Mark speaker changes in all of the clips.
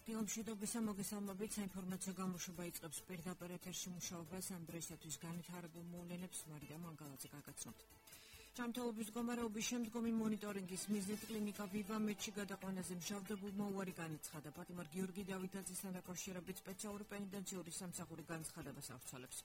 Speaker 1: დილომშვიდობისა მოგესალმებით, საინფორმაციო გამოშვება იწყებს პირდაპირ ეთერში მუშაობას ამ დროისათვის განვითარებულ მოვლენებს მარიდა მანგალაძე გაგაცნობთ. ჯანმრთელობის მდგომარეობის შემდგომი მონიტორინგის მიზნით კლინიკა ვივა მედში გადაყვანაზე მჟავდებულმა უარი განაცხადა. პატიმარ გიორგი დავითაძესთან დაკავშირებით სპეციალური პენიტენციური სამსახური განცხადებას ავრცელებს.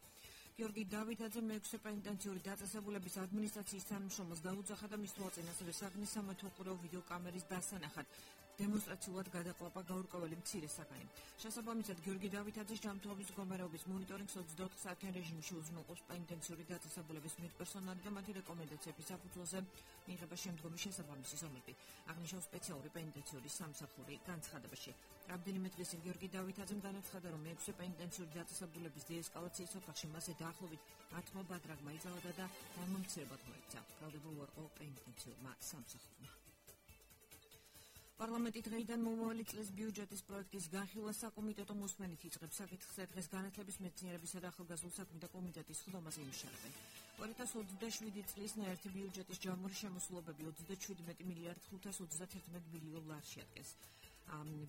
Speaker 1: გიორგი დავითაძე მე-6 პენიტენციური დაწესებულების ადმინისტრაციის თანამშრომელს დაუძახა და მის თვალწინ ასევე საგნის სამეთვალყურეო ვიდეოკამერის დასანახად დემონსტრაციულად გადაყლაპა გაურკვეველი მცირე საგანი. შესაბამისად, გიორგი დავითაძის ჯანმრთელობის მდგომარეობის მონიტორინგს 24 საათიან რეჟიმში უზრუნველყოფს პენიტენციური დაწესებულების მედპერსონალი და მათი რეკომენდაციების საფუძველზე მიიღება შემდგომი შესაბამისი ზომები. აღნიშნავს სპეციალური პენიტენციური სამსახური განცხადებაში. რამდენიმე დღეს გიორგი დავითაძემ განაცხადა, რომ მე-6 პენიტენციური დაწესებულების დეესკალაციის ოთახში მასზე დაახლოებით 10 ბადრაგმა იწაოდა და დამამცირებლად მოექცა. ბრალდება უარყო პენიტენციურმა სამსახურმა. პარლამენტი დღეიდან მომავალი წლის ბიუჯეტის პროექტის განხილვას საკომიტეტო მოსმენით იწყებს. საკითხზე დღეს განათლების, მეცნიერებისა და ახალგაზრდულ საქმეთა კომიტეტის ხდომაზე იმუშავებენ. 2027 წლის ნაერთი ბიუჯეტის ჯამური შემოსულობები 27 მილიარდ 531 მილიონ ლარში ადგენს.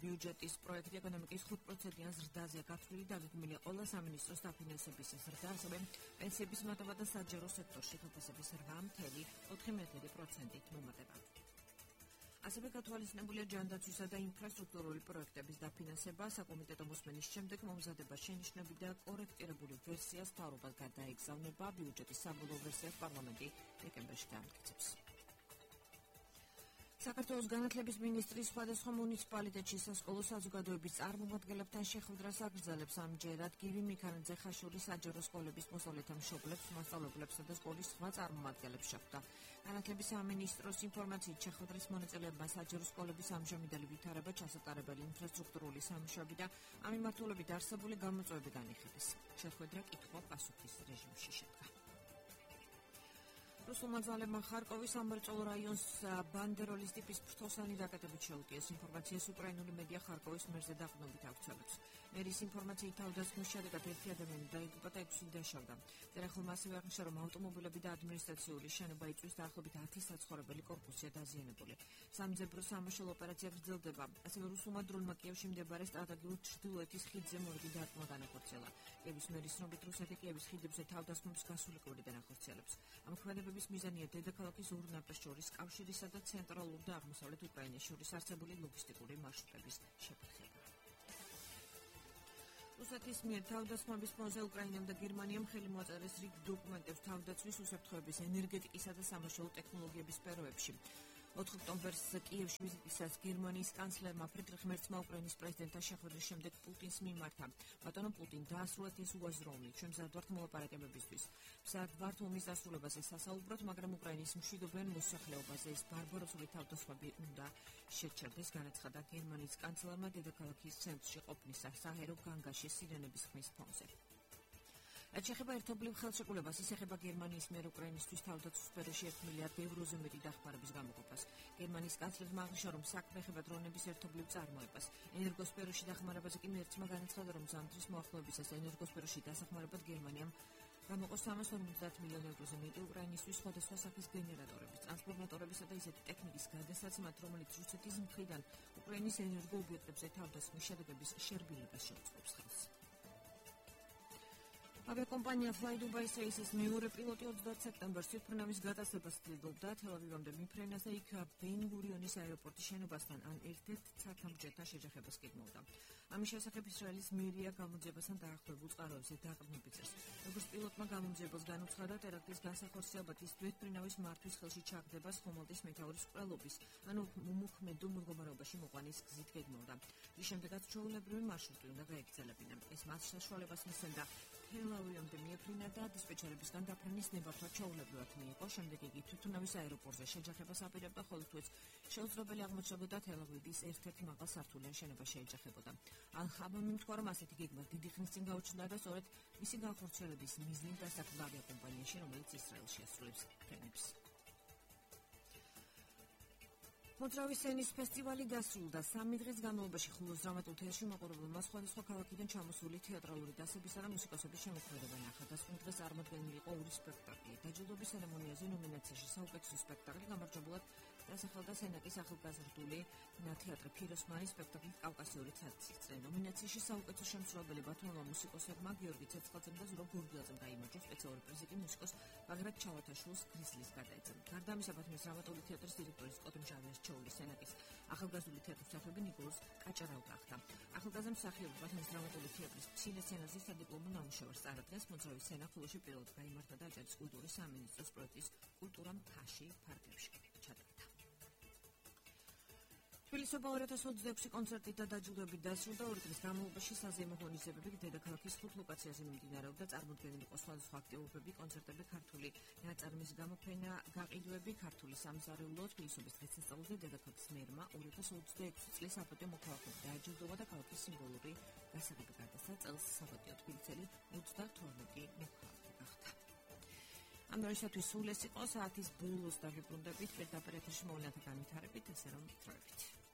Speaker 1: ბიუჯეტის პროექტი ეკონომიკის 5%-იან ზრდაზეა გათვლილი, დაგეგმილია ყველა სამინისტროს დაფინანსების ზრდა, ასევე პენსიების მატება და საჯარო სექტორში თოფასების 8,4%-ით მომატება. ასევე გათვალისწინებულია ჯანდაცვისა და ინფრასტრუქტურული პროექტების დაფინანსება. საკომიტეტო მოსმენის შემდეგ მომზადება შენიშვნები და კორექტირებული ვერსიას მთავრობას გადაეგზავნება. ბიუჯეტის საბოლოო ვერსიას პარლამენტი დეკემბერში გაამტკიცებს. საქართველოს განათლების მინისტრის სხვადასხვა მუნიციპალიტეტში სასკოლო საზოგადოების წარმომადგენლებთან შეხვედრას აგრძელებს. ამჯერად გივი მიქანაძე ხაშური საჯარო სკოლების მოსწავლეთა მშობლებს, მასწავლებლებსა და სკოლის სხვა წარმომადგენლებს შეხვდა. განათლების სამინისტროს ინფორმაციით შეხვედრის მონაწილეებმა საჯარო სკოლების ამჟამინდელი ვითარება, ჩასატარებელი ინფრასტრუქტურული სამუშაოები და ამ მიმართულებით არსებული გამოწვევები განიხილეს. შეხვედრა კითხვა-პასუხის რეჟიმში შედგა. რუსულმა ძალებმა ხარკოვის სამრეწველო რაიონს ბანდეროლის ტიპის ფრთოსანი რაკეტებით შეუტიეს. ინფორმაციას უკრაინული მედია ხარკოვის მერზე დაყრდნობით აქვცელებს. მერის ინფორმაციით თავდასხმის შედეგად 1 ადამიანი დაიღუპა და 6 დაშავდა. ტერახელმა ასევე აღნიშნა, რომ ავტომობილები და ადმინისტრაციული შენობა იწვის, დაახლოებით 10 საცხოვრებელი კორპუსია დაზიანებული. სამძებრო სამაშველო ოპერაცია გრძელდება. ასევე რუსულმა დრონმა კიევში მდებარე სტრატეგიულ ჩრდილოეთის ხიდზე მორიგი დარტყმა განახორციელა. კიევის მერის ცნობით, რუსეთი კიევის ხიდებზე თავდასხმებს გასულიყურიდან ახორციელებს. ამ ქმედებების მიზანია დედაქალაქის ორ ნაპირს შორის კავშირისა და ცენტრალურ და აღმოსავლეთ უკრაინას შორის არსებული ლოგისტიკური მარშრუტების შეფერხება. რუსეთის მიერ თავდასხმების ფონზე უკრაინამ და გერმანიამ ხელი მოაწერეს რიგ დოკუმენტებს თავდაცვის უსაფრთხოების, ენერგეტიკისა და სამაშველო ტექნოლოგიების სფეროებში. 4 ოქტომბერს კიევში ვიზიტისას გერმანიის კანცლერმა ფრიდრიხ მერცმა უკრაინის პრეზიდენტთან შეხვედრის შემდეგ პუტინს მიმართა. ბატონო პუტინ, დაასრულეთ ეს უაზროვნი, ჩვენ მზად ვართ მოლაპარაკებებისთვის. მზად ვართ ომის დასრულებაზე სასაუბროთ, მაგრამ უკრაინის მშვიდობიან მოსახლეობაზე ეს ბარბაროსული თავდასხმები უნდა შეჩერდეს, განაცხადა გერმანიის კანცლერმა დედაქალაქის ცენტრში ყოფნის საჰერო განგაში სირენების ხმის ფონზე. რაც შეეხება ერთობლივ ხელშეკრულებას, ის ეხება გერმანიის მიერ უკრაინისთვის თავდაცვის სფეროში 1 მილიარდ ევროზე მეტი დახმარების გამოყოფას. გერმანიის კანცლერმა აღნიშნა, რომ საქმე ეხება დრონების ერთობლივ წარმოებას. ენერგოსფეროში დახმარებაზე კი მერცმა განაცხადა, რომ ზამთრის მოახლოებისას ენერგოსფეროში დასახმარებლად გერმანიამ გამოყო 350 მილიონ ევროზე მეტი უკრაინისთვის სხვადასხვა სახის გენერატორების, ტრანსფორმატორებისა და ისეთი ტექნიკის გადასაცემად, რომელიც რუსეთის მხრიდან უკრაინის ენერგოობიექტებზე თავდასხმის შედეგების შერბილებას შეუწყობს ხელს. ავიაკომპანია Fly Dubai Space's მეორე პილოტი 20 სექტემბერს თვითმფრინავის გადასცემას ცდილობდა თელ-ავივამდე მიფრენას და იქ ბენ-გურიონის აეროპორტის შენობასთან ან ერთ-ერთ ცათამბჯენთან შეჯახებას გეგმავდა. ამის შესახებ ისრაელის მერია გამოძიებასთან დაახლოებულ წყაროებზე დაყრდნობით წერს. როგორც პილოტმა გამოძიებელს განუცხადა, ტერაქტის განსახორციელებად ის თვითმფრინავის მართვის ხელში ჩაგდებას ხომალდის მეთაურის კვლეობის, ანუ უმოქმედო მდგომარეობაში მოყვანის გზით გეგმავდა. რის შემდეგაც ჩვეულებრივი მარშრუტი უნდა გაეგრძელებინა. ეს მას საშუალებას მისცემდა თელ-ავივამდე მიეფრინა და დისპეჩერებისგან დაფრენის ნებართვა ჩვეულებრივად მიიღო. შემდეგ იგი თვითმფრინავის აეროპორტზე შეჯახებას აპირებდა, ხოლო თუ ეს შეუძლებელი აღმოჩნდებოდა, თელ-ავივის ერთ-ერთ მაღალ სართულიან შენობა შეეჯახებოდა. ალ-ხაბამი თქვა, რომ ასეთი გეგმა დიდი ხნის წინ გაუჩნდა და სწორედ მისი განხორციელების მიზნით დასაქმდა ავიაკომპანიაში, რომელიც ისრაელში ასრულებს ფრენებს. მოძრავი სცენის ფესტივალი დასრულდა. 3 დღის განმავლობაში ხულოს დრამატულ თეატრში მაყურებელმა სხვადასხვა ქალაქიდან ჩამოსული თეატრალური დასებისა და მუსიკოსების შემოქმედება ნახა. დასკვნის დღეს წარმოდგენილი იყო 2 სპექტაკლი. დაჯილდოების ცერემონიაზე ნომინაციაში საუკეთესო სპექტაკლი გამარჯვებულად დასახელდა სენაკის ახალგაზრდული თეატრი ფიროსმანის სპექტაკლი კავკასიური ცაცი. ნომინაციაში საუკეთესო შემსრულებელი ბათუმელმა მუსიკოსებმა გიორგი ცეცხლაძემ და ზურაბ გურგელაძემ გაიმარჯვა. სპეციალური პრიზი კი მუსიკოს ბაგრატ ჩალათაშვილს გრიზლის გადაეცა. გარდა ამისა, ბათუმის დრამატული თეატრის დირექტორი სკოტ მჟავიას-ჩოულის სენაკის ახალგაზრდული თეატრის მსახიობი ნიკოლოზ კაჭარავ გახდა. ახალგაზრდა მსახიობი ბათუმის დრამატული თეატრის მცირე სცენაზე სადიპლომო ნამუშევარს წარადგენს. მოძრავი სცენა ხოლოში პირველად გაიმართა და აჭარის კულტურის სამინისტროს პროექტის კულტურა მთაში ფარგლებში ჩატარდა. თბილისში 2026 კონცერტით და დაჯილდოებით დასრულდა. 2 დღის განმავლობაში საზეიმო ღონისძიებები დედაქალაქის 5 ლოკაციაზე მიმდინარეობდა. წარმოდგენილი იყო სხვადასხვა აქტივობები, კონცერტები, ქართული ნაწარმის გამოფენა, გაყიდვები, ქართული სამზარეულო, თბილისობის დღესასწაულზე დედაქალაქის მერმა 2026 წლის საპატიო მოქალაქეები დააჯილდოვა და ქალაქის სიმბოლური გასაღები გადასცა. წელს საპატიო თბილისელი 32 მოქალაქე გახდა. ამ დროისათვის სულ ეს იყო. საათის ბოლოს დავიბრუნდებით. პირდაპირ ეთერში მოვლენათა განვითარებით, ესე რომ დროებით.